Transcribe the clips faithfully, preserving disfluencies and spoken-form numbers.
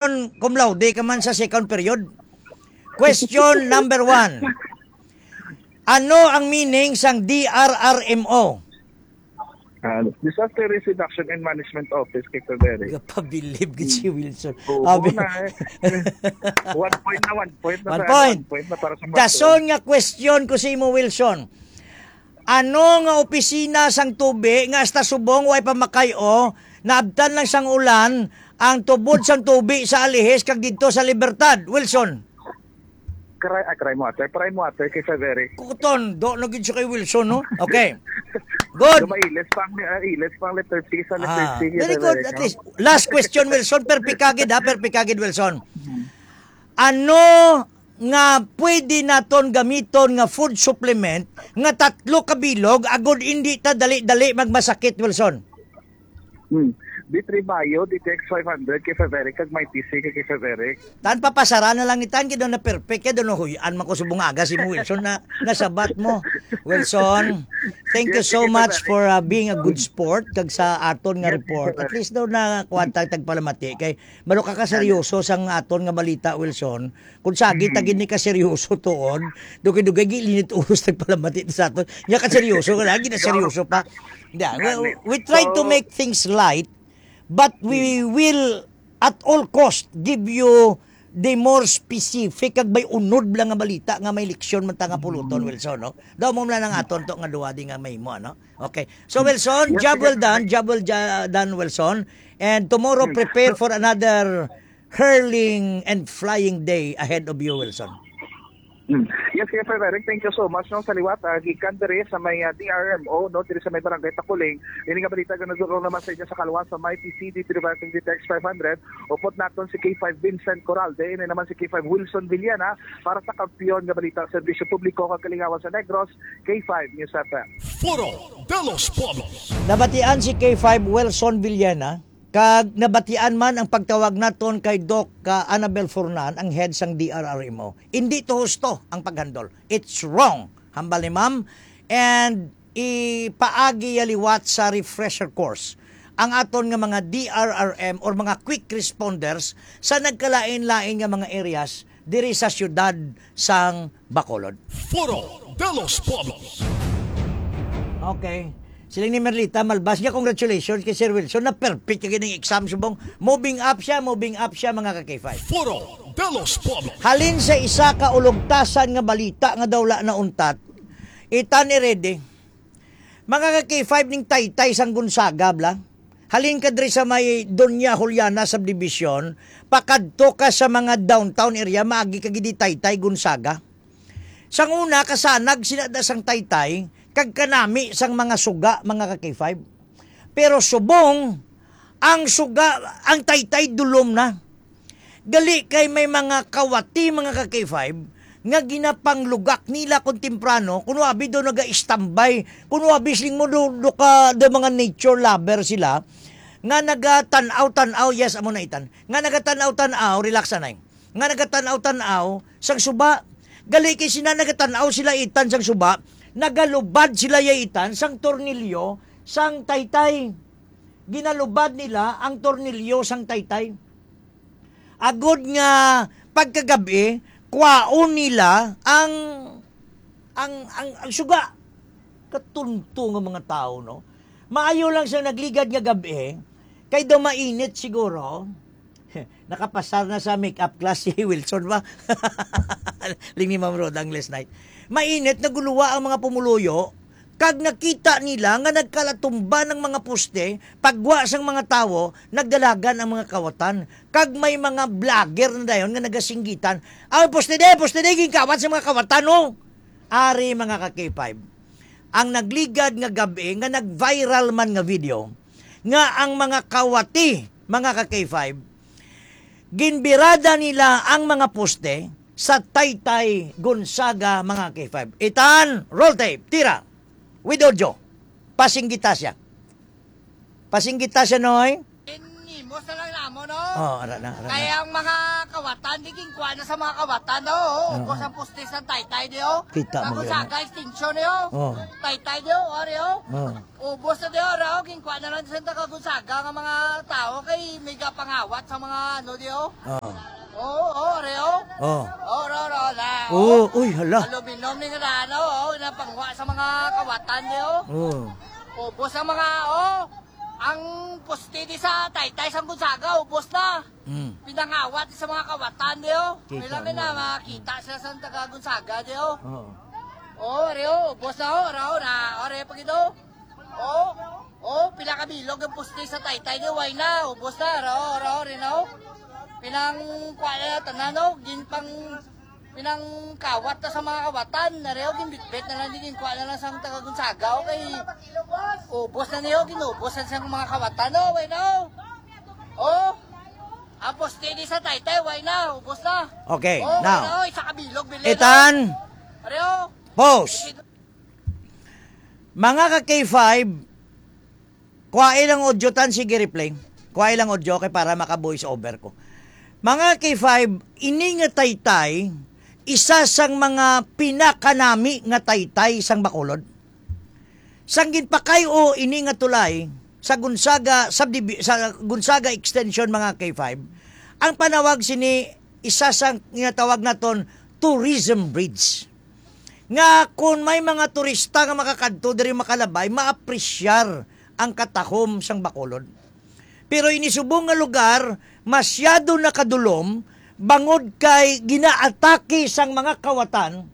Cum laude ka man sa second period. Question number one. Ano ang meaning sang D R R M O? Ah, Disaster Risk Reduction and Management Office, Kay Feberi. Gapabilib gid si Wilson. Oo Abi, na eh. One point na, one point na One sa, point. One point na para sa Dason nga question ko sa imo, Wilson. Ano nga opisina sang tubi nga hasta subong way pa makay-o, naabtan lang sang ulan, ang tubod sang tubi sa Alihis kag didto sa Libertad, Wilson? Cry, ah, cry mo, ate. Cry mo, ate, kay Frederick. Kuton, do na gid siya kay Wilson, no? Okay. Good. May ilis pang, ah, ilis pang letter C sa letter Ah, C, very good. Frederick, At no? Least, last question, Wilson. Perfect ka gid, ha? Perfect ka gid, Wilson. Mhm. Ano nga pwede naton gamiton nga food supplement nga tatlo ka bilog agod indi ta dali-dali magmasakit, Wilson? Hmm. D three Bio, D T X five hundred, kay Frederick, kag may T C kay Frederick. Tan papasara na lang ni tan, kay daw na perfect, kay daw na huyan man ko subong aga si mo, Wilson, na nasabat mo. Wilson, thank you Yes, so sige, much Frederick. for, uh, being a good sport kag sa aton nga Yes, report. At Frederick. least daw na kuwan ta tagpalamati kay malo ka kaseryoso sang aton nga balita, Wilson. Kung sagi ta Mm. gid ni kaseryoso tuod, dugay-dugay gilinit ulos tagpalamati sa aton. Nya kaseryoso ka lagi na seryoso pa. Yeah, we, Gani. we try to So make things light, but we Mm. will at all cost give you the more specific kag may unod lang nga balita nga may leksyon man ta nga puluton, Mm. Wilson, no? Daw mo lang ang aton to nga duwa di nga may mo, ano? Okay. So, Wilson, Yes, job yes, well done. yes. Job well ja-, done, Wilson. And tomorrow, Mm. prepare for another hurling and flying day ahead of you, Wilson. Mm. Yes, yes, Sir Eric, thank you so much. No, sa liwat, ah, gikan diri sa may, ah, D R M O, no, diri sa may barangay Takuling. Ini nga balita nga nagdulong naman sa inyo sa kaluwas sa may P C D, University Text five hundred. Upod naton si K five Vincent Coralde, ini naman si K five Wilson Villena para sa kampiyon nga balita, serbisyo publiko kag kalingawan sa Negros, K five News F M. Foro de los Pueblos. Nabatian si K five Wilson Villena, kag nabatian man ang pagtawag naton kay Doc, ah, Annabel Furnan, ang head sang D R R M O. Hindi to husto ang paghandol. It's wrong. Hambal ni ma'am. And ipaagi ya liwat sa refresher course ang aton nga mga D R R M or mga quick responders sa nagkalain-lain nga mga areas diri sa siyudad sang Bacolod. Foro de los Pueblos. Okay. Siling ni Merlita Malbas niya, congratulations kay Sir Wilson. Na perfect kay ning exam subong. Moving up siya, moving up siya, mga ka-K five. Foro de los Pueblos. Halin sa isa ka ulugtasan nga balita nga daw wala na untat, itan i ready. Mga ka-K five ning taytay sang Gonzaga, bla. Halin ka diri sa may Doña Juliana Subdivision, pakadto ka sa mga downtown area, maagi ka gid di taytay Gonzaga. Sang una, kasanag sila da sang taytay, kag kanami sang mga suga, mga ka-K five. Pero subong, ang suga, ang taytay dulom na. Gali kay may mga kawati, mga ka-K five, nga ginapanglugak nila kung temprano, kuno abi do naga-istambay, kuno abi siling mo do, do ka, do mga nature lover sila, nga nagatan-aw-tan-aw, yes, amo na itan, nga nagatan-aw-tan-aw, relax anay, nga nagatan-aw-tan-aw sang suba. Gali kay sina nagatan-aw sila itan sang suba, nagalubad sila ya itan sang tornilyo sang taytay. Ginalubad nila ang tornilyo sang taytay. Agod nga pagkagab-i, kwaon nila ang, ang, ang, ang suga. Katunto nga mga tawo, no? Maayo lang sa nagligad nga gab-i, kay daw mainit siguro. Nakapasar na sa makeup class si Wilson ba? Ling ni Ma'am Rhoda ang last night. Mainit, naguluwa ang mga pumuluyo, kag nakita nila nga nagkalatumba ang mga poste, pagwa sang mga tawo, nagdalagan ang mga kawatan. Kag may mga vlogger na dayon nga nagasinggitan, "Ay, poste de, poste de, ginkawat sa mga kawatan, no?" Ari, mga ka-K five, ang nagligad nga gab-i nga nag-viral man nga video, nga ang mga kawati, mga ka-K five, ginbirada nila ang mga poste sa Taytay Gonzaga, mga ka-K five. Itan, roll tape, tira. With audio. Pasinggita siya. Pasinggita siya, Noy. Ubos na lang namo, no? Oh, ara na, ara na. Kaya ang mga kawatan, di ginkuha na sa mga kawatan, no? Oh, Oo. ubos ang poste sa Taytay, di, oh. Kita Sa mo, Gonzaga, Glenn. extinction, di, oh. Oh. Taytay, di, oh, ari, oh. Oh. Ubos na, di, oh, ra, oh. Ginkuha na lang sa taga Gonzaga nga mga tao kay may gapangawat sa mga, ano, di, oh. Oh. Oo, oh, ari, oh. Oh. Oh, ra, ra, ra, Oh, oh. uy, hala. Aluminum ni nga na, ano, oh, napangwa sa mga kawatan, di, oh. Oh. Ubos ang mga, oh. Ang poste di sa Taytay sang Gonzaga, ubos na. Mm. Pinangawat sa mga kawatan, di, oh. Kita May lang mo. na makita sila sa taga Gonzaga, di, oh. Oo. Oh, ari, oh, ubos na, oh, ra, oh, na, oh, ari, pag ito. Oh, oh, pila ka bilog ang poste sa Taytay, di, way na, ubos na, ra, oh, ra, oh, rin, oh. Pinang, kuha na, tanan, oh, gin pang, pinangkawat na sa mga kawatan, ari, oh, ginbitbit na lang, di, ginkuha na lang sa taga Gonzaga, oh, kay ubos na niyo, ginubos na sa mga kawatan, oh, way na, oh. Oh, ang poste di sa Taytay, way na, ubos na. Okay, Oh, now, way na, oh, isa ka bilog, bilin, Ethan, oh. Ari, oh. Pause. Mga ka K five, kuha ilang audio tan, sige, replay. Kuha ilang audio kay para maka-voice over ko. Mga K five, ini nga Taytay, isa sang mga pinakanami nga Taytay sang Bacolod. Sang ginpakay-o ini nga tulay sa Gonzaga subdivi-, sa Gonzaga Extension, mga K five, ang panawag sini isa sa ginatawag naton tourism bridge. Nga kung may mga turista nga makakadto diri makalabay, maapresyar ang katahom sang Bacolod. Pero ini subong nga lugar, masyado na kadulom, bangod kay ginaatake sang mga kawatan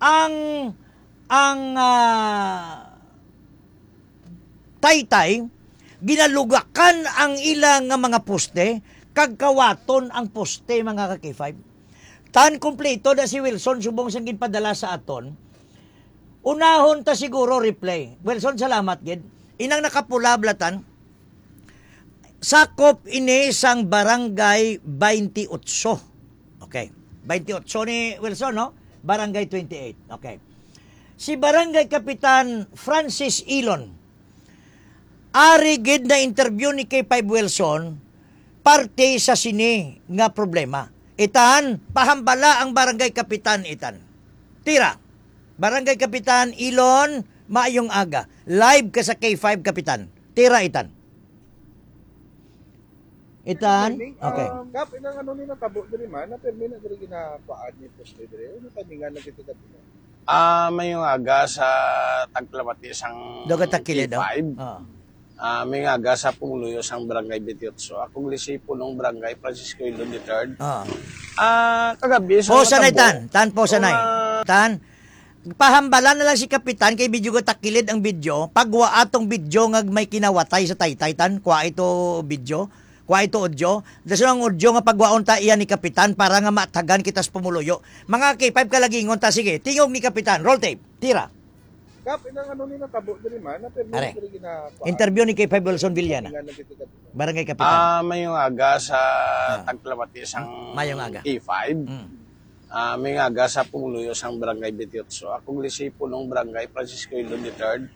ang, ang, ah, Taytay, ginalugakan ang ila nga mga poste, kag kawaton ang poste, mga ka K five. Tan kompleto na si Wilson subong sang ginpadala sa aton. Unahon ta siguro replay. Wilson, salamat gid. Inang nakapula, blatan. Sakop ini sang Barangay twenty-eight. Okay. Twenty-eight ni Wilson, no? Barangay twenty-eight. Okay. Si Barangay Kapitan Francis Ilon, ari gid na interview ni K five Wilson, parte sa sini nga problema. Itan, pahambala ang Barangay Kapitan, itan. Tira. Barangay Kapitan Ilon, maayong aga. Live ka sa K five, Kapitan. Tira, itan. Itan? Pirmi, Okay. ah, Kap, inang ano ni natabo diri man, na pirmi na diri ginakuan ni poste diri. Ano taningan na kita dati na? Ah, may nga aga sa taglamati sang Dogat takilid, oh. K five. Ah. Ah, may nga aga sa pumuluyo sang Barangay twenty-eight. Ako gilisi punong Barangay Francisco Ilon the third. Ah. Ah, kagabi sa Posa na natabo, itan. Tan, posa na eh. Una Tan, pahambala na lang si Kapitan kay video takilid ang video. Pagwa atong video nga may kinawatay sa Taytay, tan. Kuha ito video. Kuha ito audio. Dason ang audio nga pagwaon ta iya ni Kapitan para nga matagan kita sa pumuluyo. Mga K five kalagingon ta. Sige, tingog ni Kapitan. Roll tape. Tira. Kap, inang ano ni natabo diri man, na pirmi Are. diri ginakuan. Interview ni K five Wilson Villana. Taningan na kita dati. Barangay Kapitan. Ah, mayong aga sa Ah. taglamati sang Mayong aga. K five. Mm. Ah, may nga aga sa pumuluyo sang Barangay twenty-eight. Ako gilisi punong Barangay Francisco Ilon the third.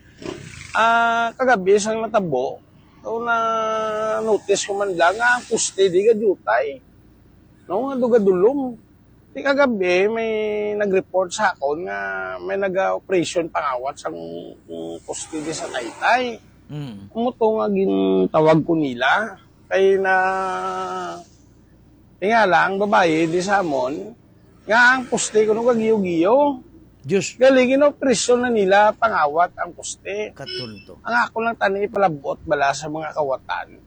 Ah, kagabi sang natabo, so na-notice ko man lang nga ang poste di gadutay. No, nga dugadulom. Di kagabi, may nag-report sa akon nga may naga-operation pangawat sang, mm, poste di sa Taytay. Mm. Amo to nga gintawag ko nila. Kay na, tingala ang babayi di sa amon, nga ang poste kuno gagiyo-giyo. Diyos. Gali, ginopresyon na nila pangawat ang poste. Katunto. Ang ako lang tani ipalabot bala sa mga kawatan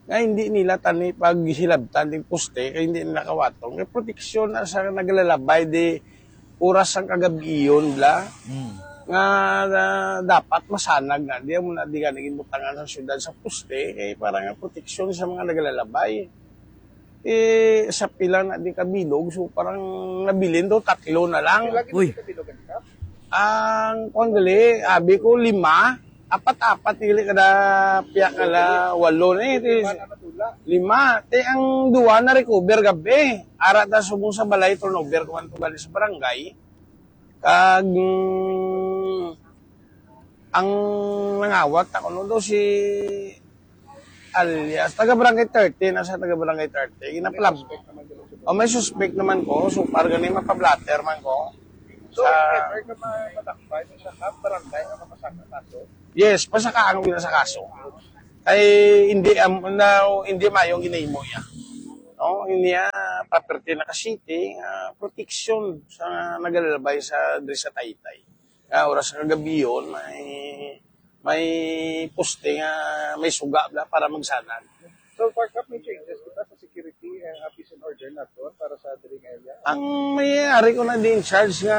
nga hindi nila tani paghilabtan ding poste kay hindi nila kawaton. Kay proteksyon na sa naglalabay di oras sang kagabion bla. Mm. Nga, na dapat masanag na di mo na di gani ginbutangan sa syudad sa poste kay para nga proteksyon sa mga naglalabay. Eh, sa pila na di kabilog, so parang nabilin daw tatlo na lang. Pila gid Uy. Kabilog ang isa? Ang, kung gali, abi ko, lima. Apat-apat, dili kada piyak nga la-, walo na eh. Di, Lima na matula. lima. Ti ang duwa na recover gabi. Ara ta subong sa balay, turnover ko man to gali sa barangay. Kag, mm, ang nangawat ako, no, daw si Alias, taga Barangay thirty, nasa taga Barangay thirty. May Ginapalab-, suspect naman dito sa o, may suspect naman ko. So far, gani, mapablatter man ko. So, sa if ever ka ma-, madakpan, isa ka barangay ang mapasaka kaso? Yes, pasaka ang wala sa kaso. Kay hindi, am-, na, hindi mayong ginahimo niya. No, hindi niya property na ka-city, ah, protection sa nagalalabay sa, diri sa Taytay. Ah, oras sa kagabi yun, may, may poste nga may suga bla para magsanag. So, far, Kap, may changes kita sa security and, uh, peace and order nato para sa diri nga area? Ang may ari ko na di in charge nga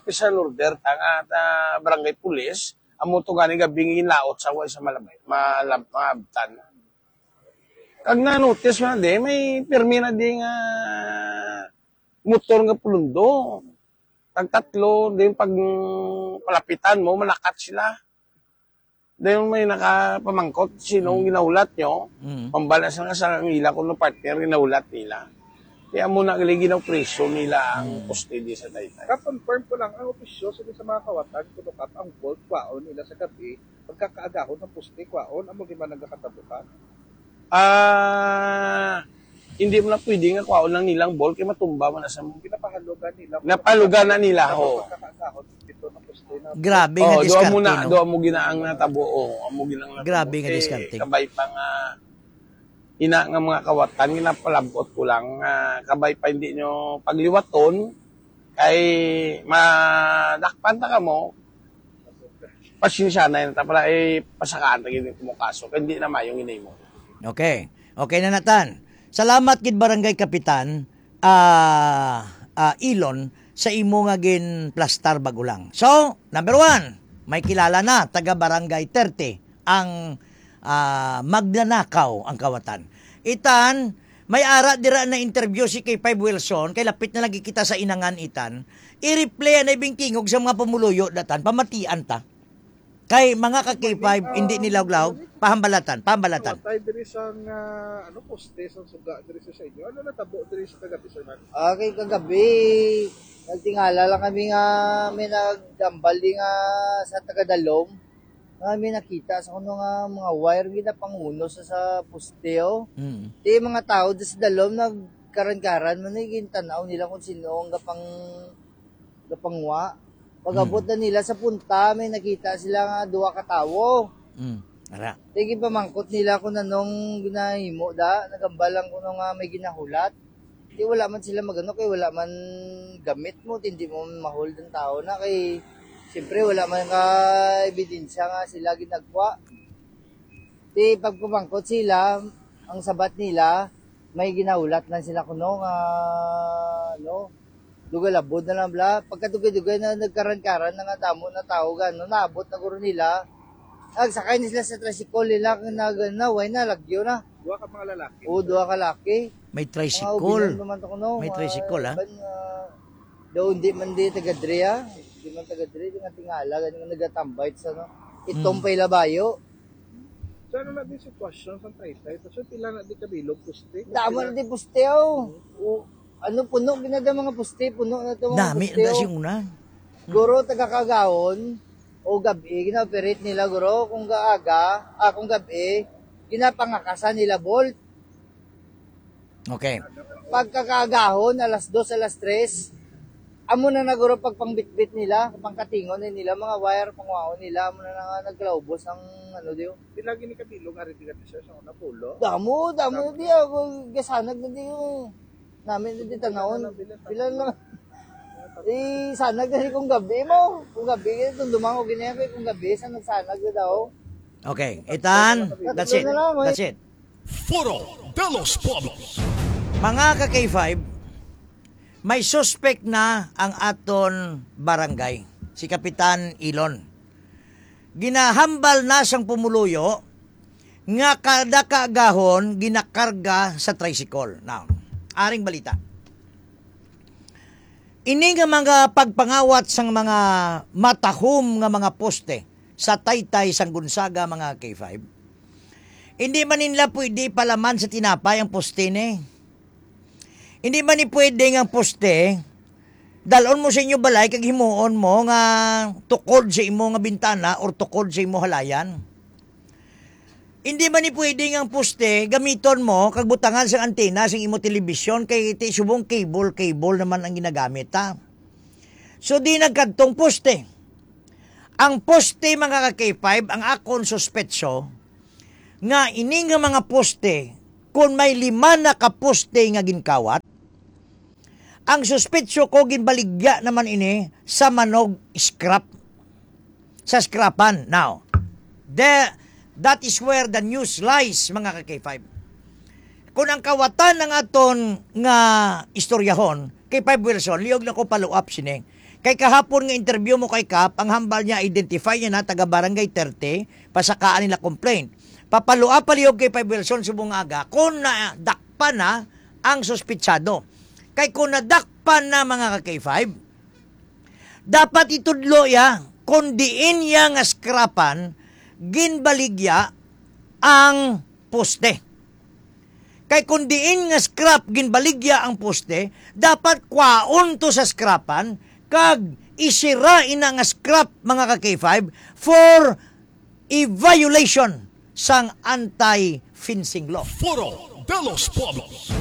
peace and order ta nga ta barangay police, amo to gani gabi nga ginlaot sa way sa malabay, malab-, maabtan. Kag na-notice na di, may pirmi na di nga motor nga pulundo. Tag tatlo, din pag palapitan mo, malakat sila. Dayon may nakapamangkot, sino ang Mm. ginahulat nyo? Mm. Pambala sa nga sa ila kuno partner, ginahulat nila. Kaya mo na gali ginaw-preso nila ang Mm. custody sa Taytay. Ka-confirm ko lang, ang opisyo sa, sa mga kawatan, kuno, Kap, ang vault, kwaon nila sa gabi, pagkakaagahon ng poste, kwaon, amo di man nagakatabukan. Ah, hindi mo na pwede nga kwaon lang nilang ball kay matumba man na sa mo. Pinapahalugan nila. Napalugan na nila, ho. Pagkakaagahon dito ng poste na. Grabe nga Oh, duha mo diskarte, na, no? duha mo ginaang natabo, oh, amo ginang natabo. Grabe nga Eh, diskarte. Kabay pa nga ina nga mga kawatan, ginapalabot ko lang nga kabay pa hindi nyo pagliwaton, kay madakpan ta kamo, pasensya na yun. Tapos, eh, pasakaan ta gid mo kaso, kay hindi na mayong ginimo. Okay. Okay na natan. Salamat gid, Barangay Kapitan, ah, ah, Ilon, sa imo nga ginplastar bago lang. So, number one, may kilala na, taga Barangay thirty, ang, ah, magnanakaw ang kawatan. Itan, may ara dira na interview si K five Wilson, kay lapit na lagi kita sa Inangan, Itan. I-replay na ibingkingog sa mga pumuluyo, datan, pamatian ta. Kay mga ka K five, hindi nila uglaw, pahambalatan, pahambalatan. Patay diri sa, ah, ano, poste, sa suga diri sa, sa inyo. Ano natabo diri sa kagabi, sir, man? Ah, kay kagabi, nagtingala lang kami nga may nagdambal di nga sa tagadalom. Nga may nakita sa kuno nga mga wire nga ginapanguno sa, sa poste, oh. Mm. Di mga tao di sa dalom nagkaran-karan man, eh, gintanaw nila kung sino ang gapang-, gapangwa. Pag-abot Mm. na nila sa punta, may nakita sila nga duha ka tawo. Mm. Ara. Di ginpamangkot nila kung anong ginahimo da, nagambal lang kuno nga may ginahulat. Di wala man sila magano kay wala man gamit mo, di, di mo mahol ang tao na kay siyempre wala man ka ebidensya nga sila ginagwa. Di pagpamangkot sila, ang sabat nila, may ginahulat lang sila kuno nga, ano, dugay labod na lang bla. Pagkadugay-dugay na nagkaran-karan na nga damo na tao, gano, naabot na guro nila. Nagsakay na sila sa tricycle nila, nag-, na, way na, lagyo na. Duha ka mga lalaki. Oo, duha ka laki. May Mga tricycle. Ubinon naman to kuno, May mga tricycle, ah. Iban, ah, daw hindi man di taga dre, ah. Hindi man taga dre, di nga tingala, gani nga nagatambay sa, ano, itom Mm. pa ila bayo. So, ano na din sitwasyon sa Taytay? So, pila na di kabilog poste? Damo na di poste, oh. Mm. O, ano, puno ginada mga poste, puno na to mga Dami poste, na oh. Sing una. Guro, taga Kagawon, o gabi, gina-operate nila, guro. Kung gaaga, ah, kung gabi, ginapangakasan nila bolt. Okay. Pagkakaagahon, alas dos, alas tres, amo na na guro pagpangbitbit nila, pangkatingon na nila, mga wire, pangwaon nila, amo na na nga naglaubos ang, ano, diyo. Di lagi ni kabilog, ari di ka, sir, sa una, pulo. Damo, damo na di ako, gasanag na di yun. Namin na di tanawon. Pila na. Eh, sana gani kung gabi mo. Kung gabi, eh, kung dumango, gini ako, eh, kung gabi, sa nagsanag na daw. Okay, Itan, that's it. Tatlo na lang, eh. That's it. Foro de los Pueblos. Mga ka K five, may suspect na ang aton barangay, si Kapitan Ilon. Ginahambal na sang pumuluyo nga kada kaagahon ginakarga sa tricycle. Now, aring balita. Ini nga mga pagpangawat sang mga matahom nga mga poste sa Taytay sang Gonzaga, mga K five, hindi man nila pwede palaman sa tinapay ang poste ni. Hindi man ni pwede nga ang poste, dalon mo sa inyo balay kag himuon mo nga tukod sa imo nga bintana or tukod sa imo halayan. Hindi man ni pwede nga ang poste gamiton mo kag butangan sang antena sang imo telebisyon, kay ti subong cable, cable naman ang ginagamit, ha. So, di nagkadtong poste. Ang poste, mga ka-K five, ang akon suspetso nga ini nga mga poste, kung may lima na ka poste nga ginkawat, ang suspetso ko, ginbaligya naman ini sa manog scrap. Sa scrapan. Now, the, that is where the news lies, mga ka-K five. Kung ang kawatan ang aton nga istoryahon, K five Wilson, liog na ko follow up sini. Kay kahapon nga interview mo kay Kap, ang hambal niya, identify niya na, taga Barangay thirty, pasakaan nila complaint. Papalo up pa liog, K five Wilson, subong nga aga, kung nadakpan na ang suspitsado. Kay kung nadakpan na, mga ka-K five, dapat itudlo iya kung diin iya nga scrapan ginbaligya ang poste. Kay kung diin nga scrap ginbaligya ang poste, dapat kwaon to sa scrapan kag isira ina nga scrap, mga ka-K five, for a violation sang anti-fencing law. Foro de los Pueblos.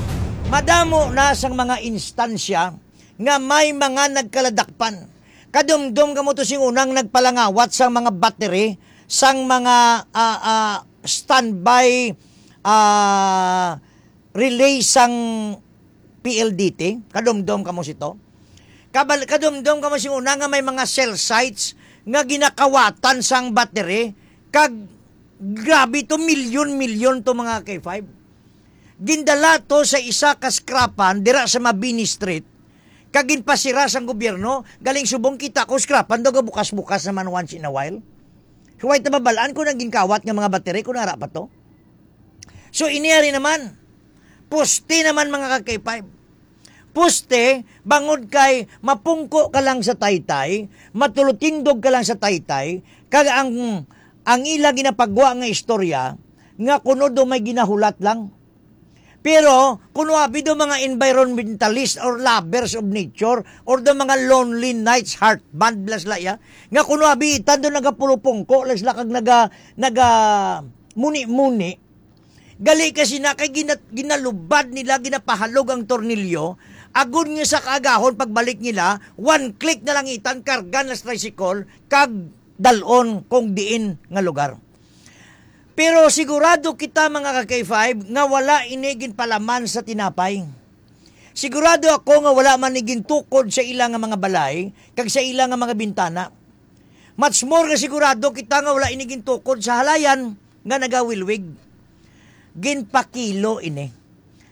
Madamo na sang mga instansya nga may mga nagkaladakpan. Kadumdom kamo to sing unang nagpalangawat sang mga battery sang mga, ah, ah, standby, ah, relay sang P L D T. Kadumdom kamo sito. Kabal-, kadumdom kamo sing una nga may mga cell sites nga ginakawatan sang battery, kag grabe to, milyon-milyon to, mga K five. Gindala to sa isa ka scrapan dira sa Mabini Street, kag ginpasira sang gobyerno, galing subong kita ko, scrapan daw gabukas-bukas naman once in a while. Huway ta mabalaan kung ang ginkawat nga mga battery kung ara pa to. So, ini ari naman, poste naman, mga ka-K five. Poste, bangod kay mapungko ka lang sa taytay, matulutindog ka lang sa taytay, kag ang, ang ila ginapagwa nga istorya, nga kuno do may ginahulat lang. Pero, kuno abi do mga environmentalist or lovers of nature, or do mga lonely knights, heart band, bla sila, ya, nga kuno abi itan do nagapulupungko, la sila, kag naga-, naga-muni-muni, gali kasi na kay gina-, ginalubad nila, ginapahalog ang tornilyo, agod nga sa kaagahon pagbalik nila, one click na lang itan, karga na sa tricycle, kag dal-on kung diin nga lugar. Pero sigurado kita, mga ka-K five, nga wala ini ginpalaman sa tinapay. Sigurado ako nga wala man ni gintukod sa ila nga mga balay kag sa ila nga mga bintana. Much more nga sigurado kita nga wala ini gintukod sa halayan nga nagawilwig. Ginpakilo ini.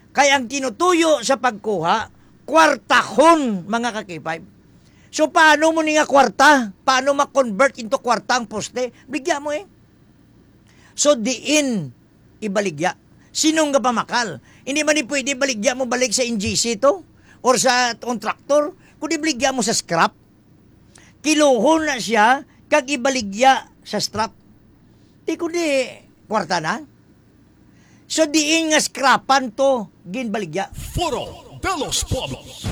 Kay ang tinutuyo sa pagkuha, kwartahon, mga ka-K five. So, paano mo ni nga kwarta? Paano ma-convert into kwarta ang poste? Bigya mo eh. So, diin ibaligya? Sinong gapamakal? Hindi man ni pwede baligya mo balik sa N G C to or sa contractor, kundi baligya mo sa scrap. Kiluhon na siya kag ibaligya sa scrap. Di kundi kwarta na. So, diin nga scrapan to ginbaligya? Foro de los Pueblos.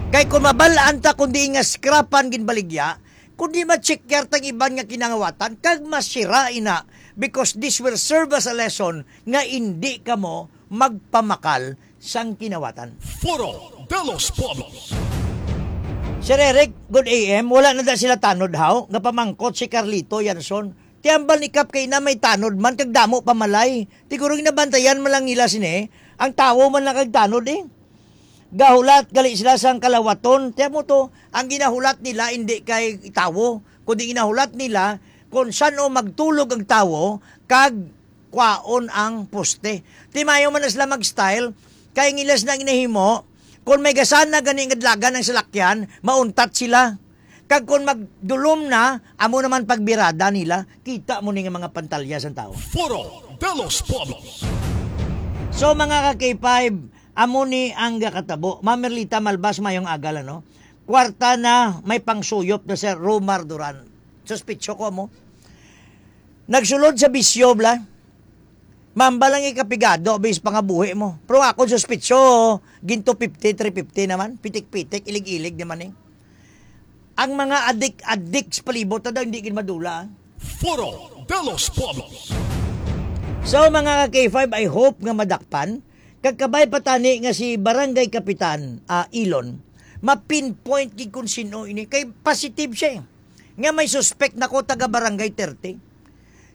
Kay kung mabal-an ta kung diin nga scrapan ginbaligya, kundi ma-check yar tang iban nga kinangawatan, kag masira ina, because this will serve as a lesson nga indi kamo magpamakal sang kinawatan. Foro de los Pueblos. Sir Eric, good A M. Wala na da sila tanod, haw? Nga pamangkot si Carlito Yanson. Ti hambal ni Kap kay na may tanod man kag damo pa malay. Siguro ginabantayan man lang nila sini. Ang tawo man lang kag tanod eh. Gahulat gali sila sang kalawaton. Tiyan mo to, ang ginahulat nila hindi kay tawo, kundi ginahulat nila kung san-o magtulog ang tawo kag kwaon ang poste. Ti mayo man na sila mag-style, kay ang ila sina ginahimo, kung may gasana gani nga dalagan ang salakyan, mauntat sila. Kag kung magdulom na, amo naman pagbirada nila, kita mo ni nga mga pantalya sang tawo. Foro de los Pueblos. So, mga ka-K five, amo ni ang gakatabo. Ma'am Merlita Malbas, mayong aga, no? Kwarta na, may pangsuyop na, Sir Romar Duran. Suspitso ko mo. Nagsulod sa bisyo, bla. Mamba lang ikapigado, bis pangabuhi mo. Pero ako suspitso, ginto fifty, three fifty naman. Pitik-pitik, ilig-ilig naman eh. Ang mga adik-adik sa palibot na daw, hindi gid madula, ah. Foro de los Pueblos. So, mga ka-K five, I hope nga madakpan. Kag kabay pa tani nga si Barangay Kapitan, ah, Ilon, ma-pinpoint gid kung sino ini. Kay positive siya eh. Nga may suspect na ko taga Barangay thirty.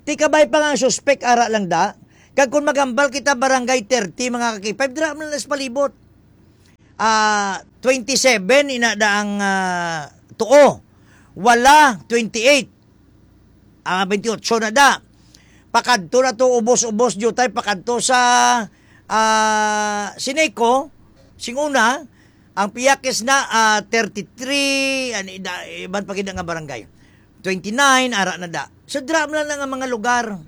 Ti kabay pa nga ang suspect ara lang da. Kag kung maghambal kita Barangay thirty, mga ka-K five, dira man lang sa palibot. Ah, twenty-seven, ina da ang, ah, tuo. Wala, twenty-eight. Ah, twenty-eight na da. Pakadto na to, ubos-ubos, jutay, pakadto sa, ah, Sineco, sing una, ang Piyakis na, ah, thirty-three, ani, da, iban pa gid nga barangay. Twenty-nine, ara na da. So, dira man lang ang mga lugar.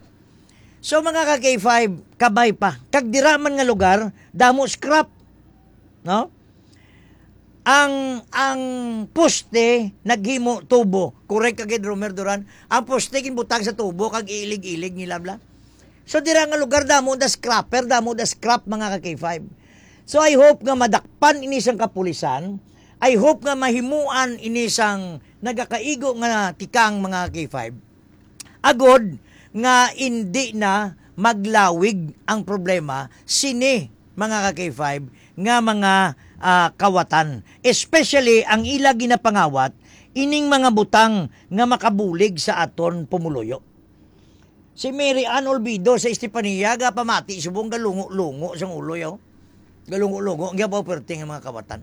So, mga ka-K five, kabay pa. Kag dira man nga lugar, damo scrap. No? Ang, ang poste naghimo tubo. Correct ka gid, Romer Duran. Ang poste ginbutang sa tubo kag ilig-ilig nila bla. So, dira nga lugar damo da scrapper, damo da scrap, mga ka-K five. So, I hope nga madakpan ini sang kapulisan. I hope nga mahimuan ini sang nagakaigo nga tikang, mga ka-K five. Agod nga indi na maglawig ang problema sini, mga ka-K five, nga mga, ah, kawatan, especially ang ila ginapangawat ining mga butang nga makabulig sa aton pumuluyo. Si Mary Ann Olvido sa Estefania gapamati subong galungo-lungo sang ulo, yo. Galungo-lungo, ang gyabaw perting ang mga kawatan.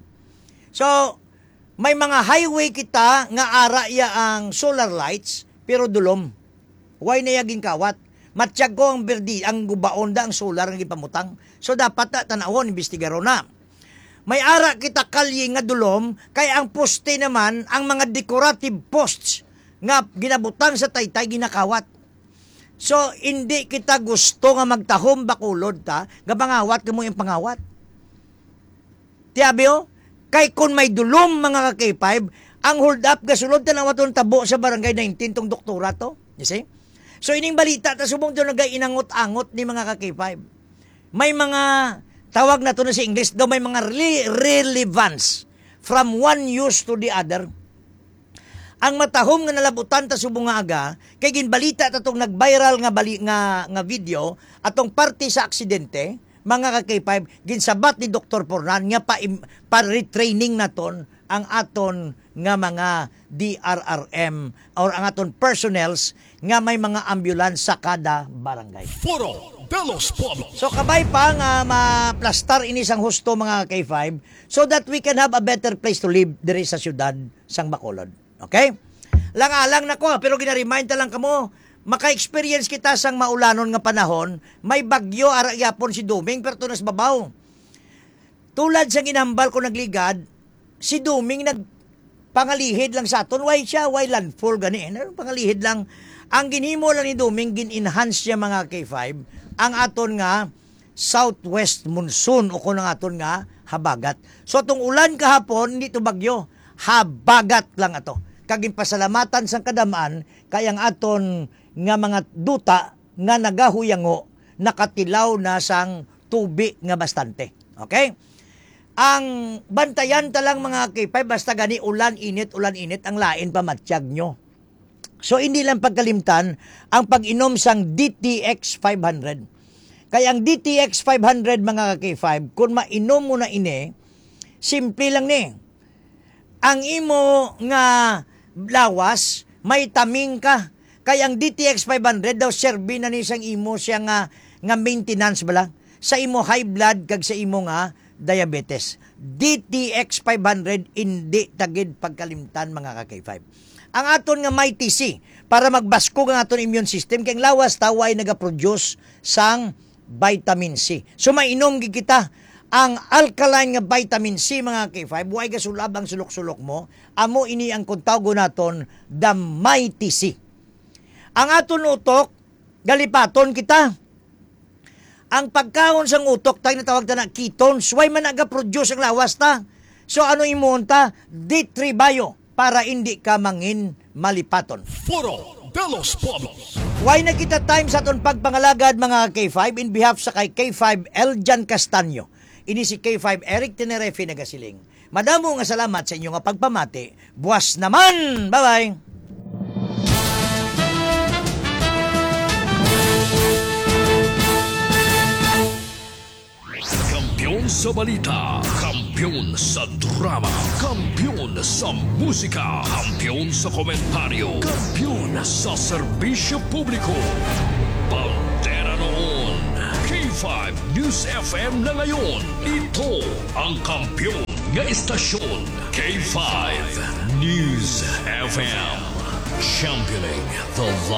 So, may mga highway kita nga ara iya ang solar lights, pero dulom. Why na iya ginkawat? Matyag ko ang berdi, ang gubaon da ang solar nga gipamutang. So, dapat na tanawon, imbestigaron na. May ara kita kalye nga dulom, kay ang poste naman, ang mga decorative posts nga ginabutang sa taytay, ginakawat. So, hindi kita gusto nga magtahom bakulod ta, nga pangawat kamo yung pangawat. Tiyabi, oh, kay kun may dulom, mga ka-K five, ang hold up gasulod, tanawa tong tabo sa Barangay nineteen, tong doktora to. You see? So, ining balita, ta subong to nagainangot-angot ni, mga ka-K five. May mga, tawag na to na sa English, daw may mga rele-, relevance from one news to the other. Ang matahom nga nalabutan ta subong nga aga, kay ginbalita ta tong nag-viral nga bali-, nga, nga video, atong parte sa aksidente, mga ka-K five, ginsabat ni Doktor Pornan nga pa-, pa-retraining naton ang aton nga mga D R R M or ang aton personnels nga may mga ambulance sa kada barangay. Foro de los Pueblos. So, kabay pa nga maplastar ini sang husto, mga ka-K five, so that we can have a better place to live diri sa siyudad sang Bacolod. Okay? Lang-alang na ko, pero gina-remind ta lang kamo, maka-experience kita sang maulanon nga panahon, may bagyo, ara gyapon si Duming, pero tunas babaw. Tulad sa ginhambal ko nagligad, si Duming nagpangalihid lang sa aton. Why siya? Why landfall gani? Ano, pangalihid lang. Ang ginhimo lang ni Duming, gin-enhance niya, mga K five, ang aton nga southwest monsoon o kung ang aton nga habagat. So, atong ulan kahapon, hindi to bagyo. Habagat lang ato. Kag ginpasalamatan sang kadam-an kay ang aton nga mga duta nga nagahuyango nakatilaw na sang tubi nga bastante. Okay? Ang bantayan ta lang, mga K five, basta gani ulan, init, ulan, init, ang lain pa matyag nyo. So, hindi lang pagkalimtan ang pag-inom sang D T X five hundred. Kay ang D T X five hundred, mga ka-K five, kung mainom mo na ini, simple lang ni. Ang imo nga lawas, may taming ka. Kay ang D T X five hundred daw, serbi na ni sang imo siya nga, nga maintenance bala sa imo high blood kag sa imo nga diabetes. D T X five hundred, hindi ta gid pagkalimtan, mga ka-K five. Ang aton nga Mighty C, para magbaskog ang aton immune system, kay ang lawas ta way nagaproduce sang vitamin C. So, mainom gid kita ang alkaline nga vitamin C, mga K five. Way gasulab ang sulok-sulok mo. Amo ini ang kung tawgon naton the Mighty C. Ang aton utok, galipaton kita. Ang pagkaon sang utok, tay natawag ta na ketones, way man nagaproduce ang lawas ta. So, ano imuon ta? D three Bio para hindi ka mangin malipaton. Foro de los Pueblos. Way na kita time sa aton pagpangalagad, mga K five, in behalf sa kay K five Eljan Castaño. Ini si K five Eric Tenerefe nagasiling. Madamo nga salamat sa inyo nga pagpamati. Buwas naman! Bye-bye! sa balita, kampiyon sa drama, kampiyon sa musika, kampiyon sa komentaryo, kampiyon sa serbisyo publiko. Bandera noon, K five News F M na ngayon. Ito ang kampiyon nga istasyon, K five News F M. Championing the